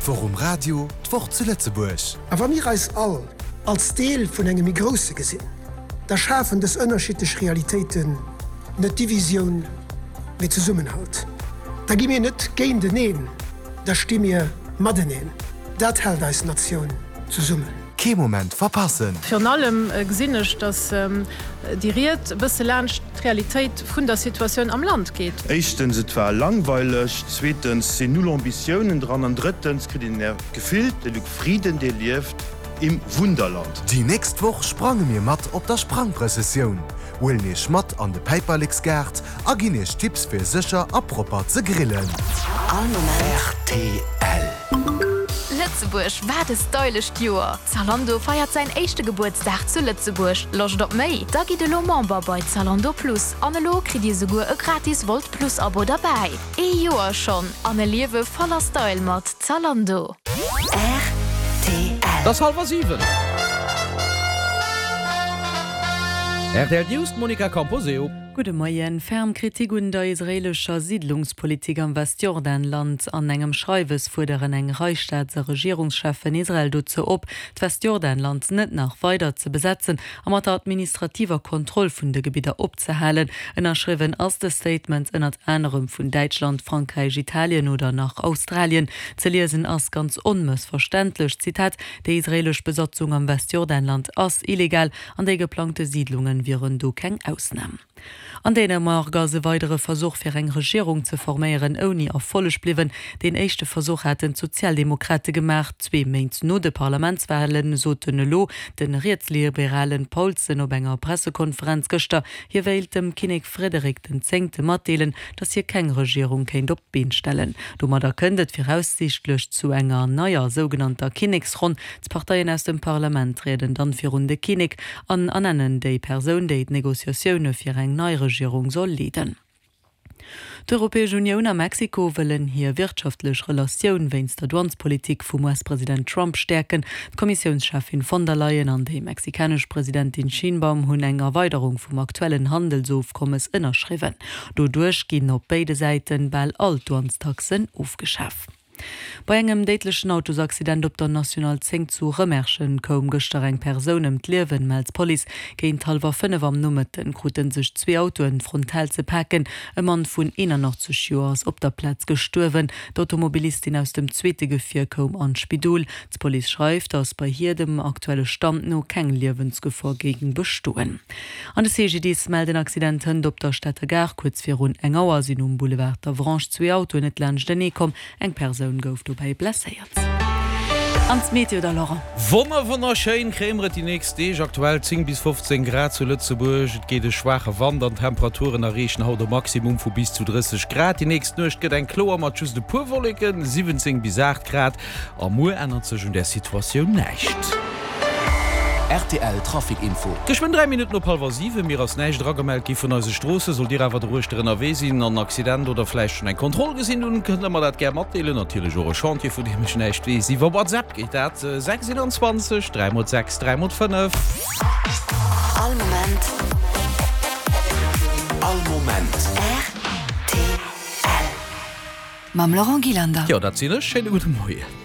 D'Woch um Radio, d'Woch zu Lëtzebuerg. A wa mir eis all als Deel vun engem méi Grousse gesinn, da schafen dës ënnerschiddlech Realitéiten net Divisioun, mee Zesummenhalt. Da gi mir net géinteneen, da sti mir mateneen. Dat hält eis Natioun zesummen. Kee Moment verpassen! Virun allem gesinn ech, datt déi Ried e bësse laanscht d'Realitéit vun der Situatioun am Land geet. Éischtens, et war langweileg, zweetens sinn null Ambitiounen dran an drëttens kritt een en Gefill, de Luc Frieden, dee lieft im Wunderland. Déi nächst Woch sprange mir mat op der Sprangprëssessioun, huelen iech mat an de Päiperleksgaart a ginn iech Tipps fir sécher a propper ze grillen. All Moment. Rtl. Lëtzebuerg, wat e stylescht Joer! Zalando feiert säin éischte Gebuertsdag zu Lëtzebuerg. Loscht op méi? Da gitt elo Member bei Zalando Plus an elo kritt dir souguer e gratis Wolt Plus Abo derbäi. Ee Joer schonn an e Liewe voller Style mat Zalando. Rtl. Et ass hallwer 7. Rtl News, d'Monica Camposeo. Gudde Moien. Ferm Kritik un der israeelescher Siidlungspolitik am Westjordanland. An engem Schreiwes fuerderen eng Rei Staats a Regierungscheffen Israel dozou op, d'Westjordanland net nach weider ze besetzen a mat der administrativer Kontroll vun de Gebidder opzehalen. Ënnerschriwwen ass de Statement ënnert anerem vun Däitschland, Frankräich, Italien oder nach Australien. Ze liesen ass ganz onmëssverständlech, Zitat, Déi israeelesch Besatzung am Westjordanland ass illegal an déi geplangte Siidlungen wieren do keng Ausnam. An Dänemark ass e weidere Versuch fir eng Regierung ze forméieren ouni Erfolleg bliwwen. Deen éischte Versuch haten d'Sozialdemokrate gemaach. Zwee Méint no de Parlamentswalen soten elo de rietsliberalen Paulsen op enger Pressekonferenz gëschter, hie wéilt dem Kinnek Frederik den Zéngte matdeelen, datt hie keng Regierung kéint op d'Been stellen. Domadder kënnt et viraussiichtlech zu enger neier sougenannter Kinneksronn. D'Parteien aus dem Parlament trieden dann virun de Kinnek an ernennen déi Persoun, déi d'Negociatioune fir eng nei Regierung soll leeden. D'Europäesch Unioun a Mexiko wëllen hir wirtschaftlech Relatioun wéinst der Douanespolitik vum US-President Trump stäerken. D'Kommissiounscheffin von der Leyen an déi mexikanesch Presidentin Sheinbaum hunn eng Erweiderung vum aktuellen Handelsofkommes ënnerschriwwen. Doduerch ginn op béide Säiten bal all d'Douanestaxen ofgeschaf. Bei engem déidlechen Autosaccident op der National 10 zu Rëmerschen koum gëschter eng Persoun ëm d'Liewen, mellt d'Police. Géint hallwer 5 am Nomëtten krute sech zwee Autoen frontal ze paken. E Mann vun 81 Joer ass op der Plaz gestuerwen. D'Automobilistin aus dem zweete Gefier koum an d'Spidol. D'Police schreift, datt bei hir dem aktuelle Stand no keng Liewensgefor géing bestoen. An de CGDIS mellt en Accident hënt op der Stater Gare. Kuerz virun eng Auer sinn um Boulevard d'Avranches zwee Autoen net laanschtenee komm. Eng Persoun gouf dobäi blesséiert. An d'Meteo da Laurent. Wonner wonnerschéin kréie mer et déi nächst Deeg. Aktuell 10 bis 15 Grad zu Lëtzebuerg, et geet e schwaache Wand an d'Temperaturen erreechen haut e Maximum vu bis zu 30 Grad. Déi nächst Nuecht gëtt eng kloer mat just e puer Wolleken, 17 bis 8 Grad. A muer ännert sech un där Situatioun näischt. Rtl Trafic Info. Geschwënn 3 Minutten op hallwer 7. Mir ass näischt eragemellt gi vun eise Stroossen. Sollt Dir awer doruechter ënnerwee sinn an en Accident oder vläicht schonn eng Kontroll gesinn hunn, kënnt Der mer dat gär matdeelen. Natierlech och e Chantier, vun deem ech näischt weess. Iwwer WhatsApp geet dat, 6 21 3 mol 6 3 mol 5. All Moment. All Moment. Rtl. Mam Laurent Gillander. Jo, dat sinn ech. Schéine gudde Moien.